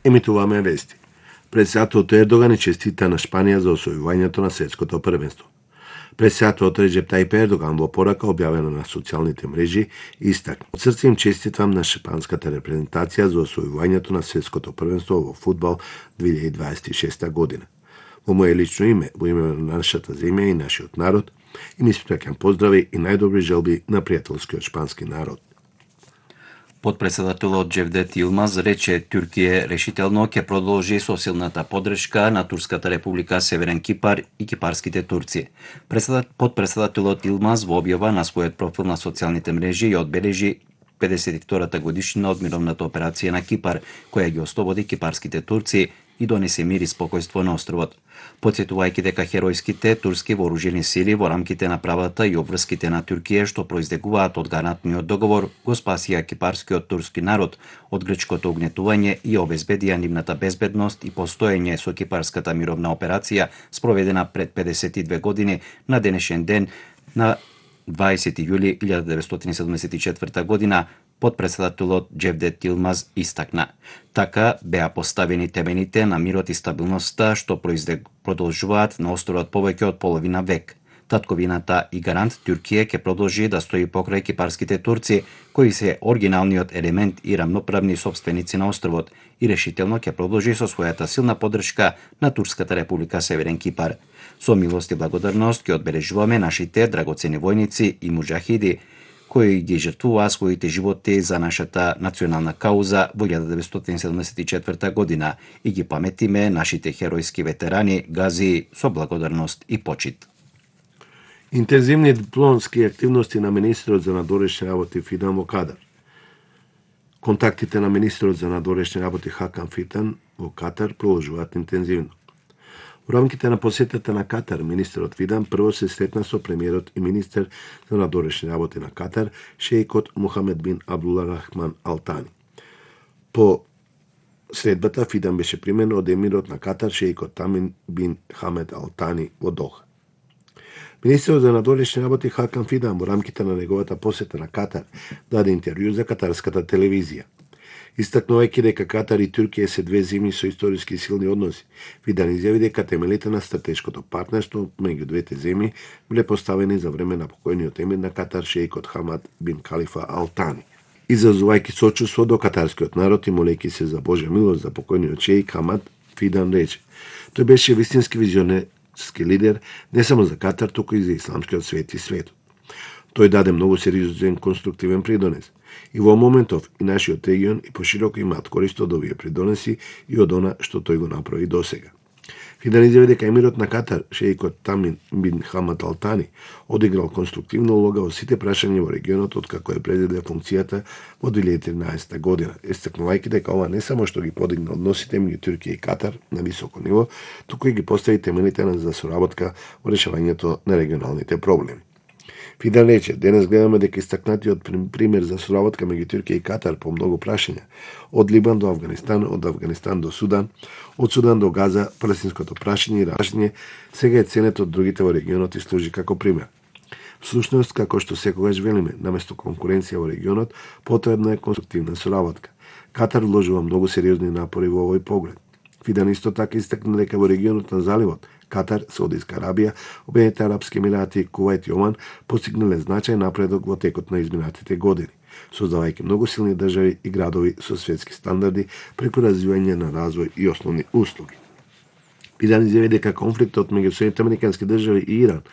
Емитуваме вести. Председателот Ердоган честита на Шпанија за освојувањето на светското првенство. Председателот Реджеп Тајип Ердоган во порака објавена на социјалните мрежи истакна: "Од срце им честитам на шпанската репрезентација за освојувањето на светското првенство во фудбал 2026 година. Во моје лично име, во име на нашата земја и нашиот народ, им испраќам поздрави и најдобри желби на пријателскиот шпански народ." Подпредседателот Џевдет Илмаз рече Туркија решително ќе продолжи со силната поддршка на Турската република Северен Кипар и кипарските турци. Подпредседателот Илмаз во објава на својот профил на социјалните мрежи ја одбележи 52-та годишнина од мировната операција на Кипар, која ги ослободи кипарските турци и донесе мир и спокојство на островот. Потсетувајќи дека херојските турски вооружени сили во рамките на правата и обврските на Туркија што произлегуваат од гарантниот договор го спасија кипарскиот турски народ од грчкото угнетување и обезбедија нивната безбедност и постоење со кипарската мировна операција спроведена пред 52 години на денешен ден на 20 јули 1974 година. Подпредседателот Џевдет Илмаз истакна: "Така беа поставени темените на мирот и стабилноста што продолжуваат на островот повеќе од половина век. Татковината и гарант Туркија ќе продолжи да стои покрај кипарските турци, кои се оригиналниот елемент и рамноправни собственици на островот, и решително ќе продолжи со својата силна поддршка на Турската република Северен Кипар. Со милост и благодарност ќе одбележуваме нашите драгоцени војници и муџахиди, кои ги жртвуваа своите животи за нашата национална кауза во 1974 година и ги паметиме нашите херојски ветерани гази со благодарност и почит." Интензивни дипломатски активности на министерот за надворешни работи Фидан во Катар. Контактите на министерот за надворешни работи Хакан Фитан во Катар продолжуваат интензивно. Во рамките на посетата на Катар, министерот Фидан прво се сретна со премиерот и министер за надворешни работи на Катар, шеикот Мухамед бин Абдула Рахман Ал Тани. По средбата Фидан беше примен од емирот на Катар, шеикот Тамин бин Хамед Ал Тани во Доха. Министерот за надворешни работи Хакан Фидан во рамките на неговата посета на Катар даде интервју за катарската телевизија. Истакнувајќи дека Катар и Туркија се две земји со историски силни односи, Фидан изјави дека темелите на стратешкото партнерство меѓу двете земји биле поставени за време на покојниот емир на Катар, шеикот Хамад бин Калифа Ал Тани. Изразувајќи сочувство до катарскиот народ и молејќи се за Божја милост за покојниот шеик Хамад, Фидан рече: "Тој беше вистински визионерски лидер не само за Катар, туку и за исламскиот свет и светот. Тој даде многу сериозен конструктивен придонес. И во моментов и нашиот регион и пошироко имаат корист од овие придонеси и од она што тој го направи досега." Фидан изјави дека емирот на Катар, шеикот Тамин бин Хамад Ал Тани, одиграл конструктивна улога во сите прашања во регионот откако е презеде функцијата во 2013 година, истакнувајќи дека ова не само што ги подигна односите меѓу Туркија и Катар на високо ниво, туку и ги постави темелите за соработка во решавањето на регионалните проблеми. Фидан рече: "Денес гледаме дека истакнатиот пример за соработка меѓу Туркија и Катар по многу прашања, од Либан до Авганистан, од Авганистан до Судан, од Судан до Газа, палестинското прашање и рашање, сега е ценет од другите во регионот и служи како пример. Всушност, како што секогаш велиме, наместо конкуренција во регионот, потребна е конструктивна соработка. Катар вложува многу сериозни напори во овој поглед." Фидан исто така истакна дека во регионот на заливот Катар, Саудиска Арабија, Обединетите арапски емирати, Кувајт и Оман постигнале значајен напредок во текот на изминатите години, создавајќи многу силни држави и градови со светски стандарди преку развивање на развој и основни услуги. Фидан изјави дека конфликтот меѓу Соединетите американски држави и Иран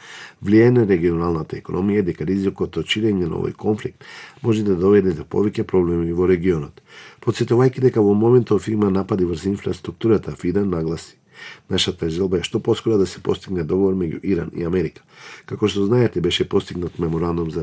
влијае на регионалната економија и дека ризикот од ширење на овој конфликт може да доведе до повеќе проблеми во регионот. Потсетувајќи дека во моментов има напади врз инфраструктурата, Фидан нагласи: "Нашата желба е што поскоро да се постигне договор меѓу Иран и Америка. Како што знаете, беше постигнат меморандум за